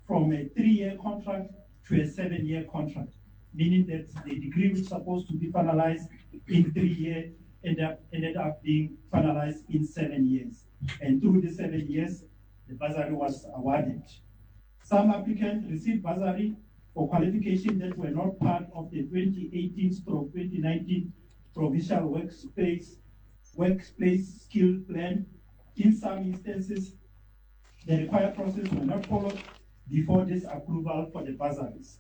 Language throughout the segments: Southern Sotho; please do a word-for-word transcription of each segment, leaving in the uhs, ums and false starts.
from a three-year contract to a seven-year contract, meaning that the degree which was supposed to be finalized in three years ended up, ended up being finalized in seven years. And through the seven years, the bursary was awarded. Some applicants received bursary for qualifications that were not part of the twenty eighteen stroke twenty nineteen provincial workspace, workplace skill plan. In some instances, the required process were not followed before this approval for the bursaries.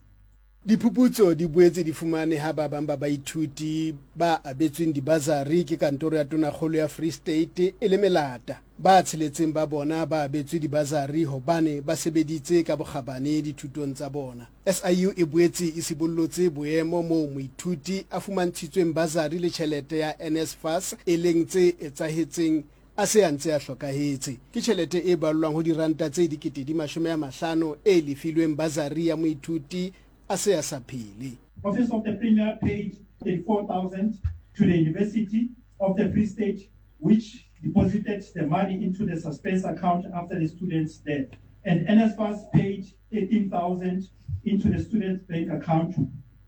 Diphuputso di boetse di fumane ha ba bang ba baithuti ba abetsweng dibasari ke kantoro ya Tonakgolo ya Free State e le melata. Ba tsheletseng ba bona ba abetswe dibasari hobane ba sebeditse ka bokgabane dithutong tsa bona. S I U e boetse e sibollotse boemo moo moithuti a fumantshitsweng basari le tjhelete ya N S F A S e leng tse etsahetseng a se a ntse a hlokahetse. Ke tjhelete e ballwang ho diranta tse dikete di mashome a mahlano e lefilweng basari ya moithuti a se a sa phele. Office of the Premier paid thirty-four thousand to the University of the Free State, which deposited the money into the suspense account after the student's death. And N S F A S paid thirteen thousand into the student's bank account,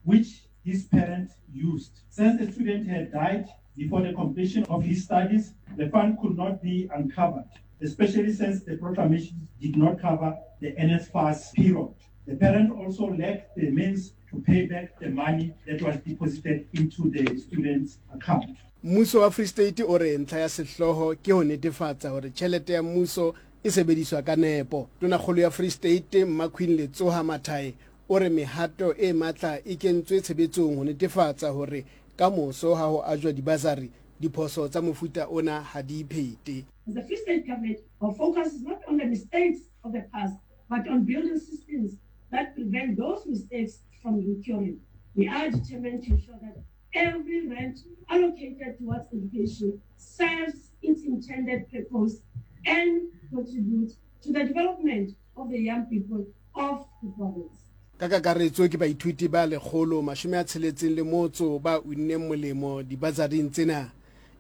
which his parents used. Since the student had died before the completion of his studies, the fund could not be uncovered, especially since the proclamation did not cover the N S F A S period. The parent also lacked the means to pay back the money that was deposited into the student's account. Mmuso wa Free State o re ntlha ya sehlooho ke ho netefatsa hore tjhelete ya mmuso e sebediswa ka nepo. Tonakgolo ya Free State Mmaqueen Letsoha Mathae o re mehato e matla e kentswe tshebetsong ho netefatsa hore ka moso ha ho ajwa dibasari diphoso tsa mofuta ona ha di iphete. As the Free State government, our focus is not on the mistakes of the past, but on building systems that prevent those mistakes from recurring. We are determined to ensure that every rand allocated towards education serves its intended purpose and contributes to the development of the young people of the province. Ka kakaretso ke baithuti ba lekgolo mashome a tsheletseng le motso ba unneng molemo dibasaring tsena.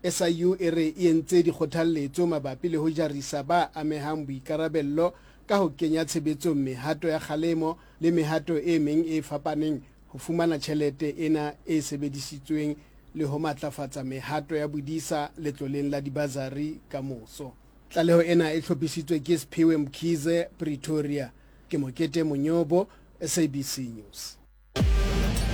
S I U e re e entse dikgothalletso mabapi le ho jarisa ba amehang boikarabello ka ho kenya tshebetsong mehato ya kgalemo le mehato e meng e fapaneng ho fumana tjhelete ena e sebedisitsweng le ho matlafatsa mehato ya bodisa letloleng la dibasari ka moso. Tlaleho ena e hlophisitswe ke Siphiwe Mkhize, Pretoria. Ke Mokete Monyobo, S A B C News.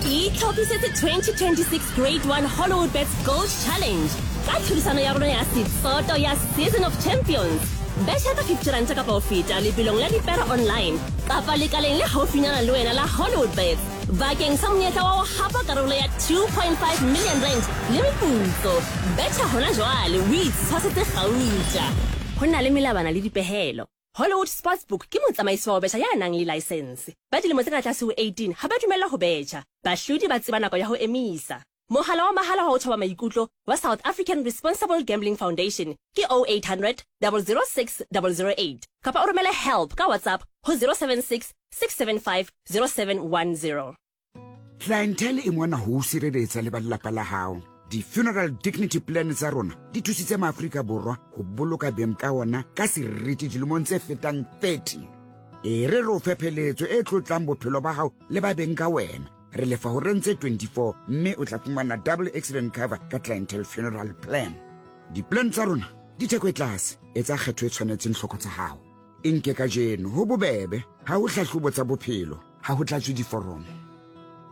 Itlhophisetse twenty twenty-six Grade one Hollywood Bets Gold Challenge ka tlhodisano ya rona ya Setsoto ya Season of Champions. Betjha ka fifty rand kapa ho feta lebelong la dipere online kapa lekaleng le haufinyana le wena la Hollywood Bets bakeng sa monyetla wa ho hapa karolo ya two point five million rand le meputso. Betjha hona jwale o itshwasetse kgauta. Ho na le melawana le dipehelo. Hollywood Sportsbook ke motsamaisi wa ho betjha ya nang le license. Ba dilemo tse ka tlase ho eighteen ha ba dumellwa ho betjha. Bahlodi ba tseba nako ya ho emisa. Mohala wa mahala wa ho thoba maikutlo wa South African Responsible Gambling Foundation ke oh eight hundred, double zero six, double zero eight. Kapa o romele help ka WhatsApp ho zero seven six, six seven five, zero seven one zero. Clientele e mona ho sireletsa le ba lelapa la hao. Di-funeral dignity plan tsa rona di thusitse maAfrika Borwa ho boloka beng ka ona ka seriti dilemong tse fetang thirty. E re re o fe pheletso e tlotlang bophelo ba hao le ba beng ka wena. Re lefa ho reng tse twenty-four mme o tla fumana double accident cover ka Clientele Funeral Plan. Di-plan tsa rona di theko e tlase, etsa kgetho e tshwanetseng tlhoko tsa hao. E nke kajeno ho bobebe, ha ho hlahlobo tsa bophelo, ha ho tlatswe diforomo.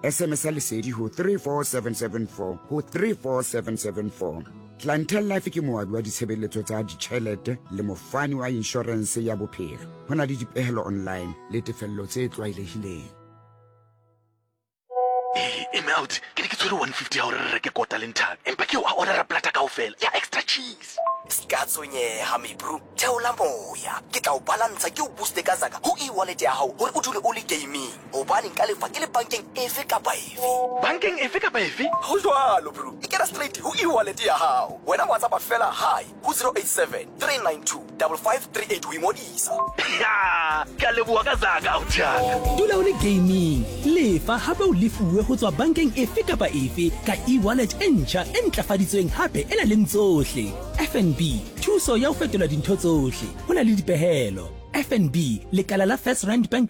S M S ya lesedi ho three four seven seven four ho three four seven seven four. Clientele Life ke moabi wa ditshebeletso tsa ditjhelete le mofani wa insurance ya bophelo. Ho na le dipehelo online le tefello tse tlwaelehileng. Eh, Melt, ke ne ke tshwere one fifty ha hore re reke kota le nthaka. Empa ke o a order-a plata kaofela ya extra cheese. Ska tshwenyeha, me bro. Theola moya. Ke tla o balantsha ke o booste ka zaka ho e-wallet ya hao hore o dule o le gaming. Hobane nka lefa ke le bankeng efe kapa efe. Bankeng efe kapa efe? Ho jwalo, bro. E kena straight ho e-wallet ya hao. Wena WhatsApp fela hi ho zero eight seven, three nine two, double five three eight ho ingodisa. Ya, ke a leboha ka zaka, ausi. Dula o le gaming. Lefa hape o lefuwe ho tswa bankeng efe kapa efe ka e-wallet e ntjha e ntlafaditsweng hape e na leng tsohle. F N B, thuso ya ho fetola dintho tsohle. Ho na le dipehelo. F N B, lekala la First Rand Bank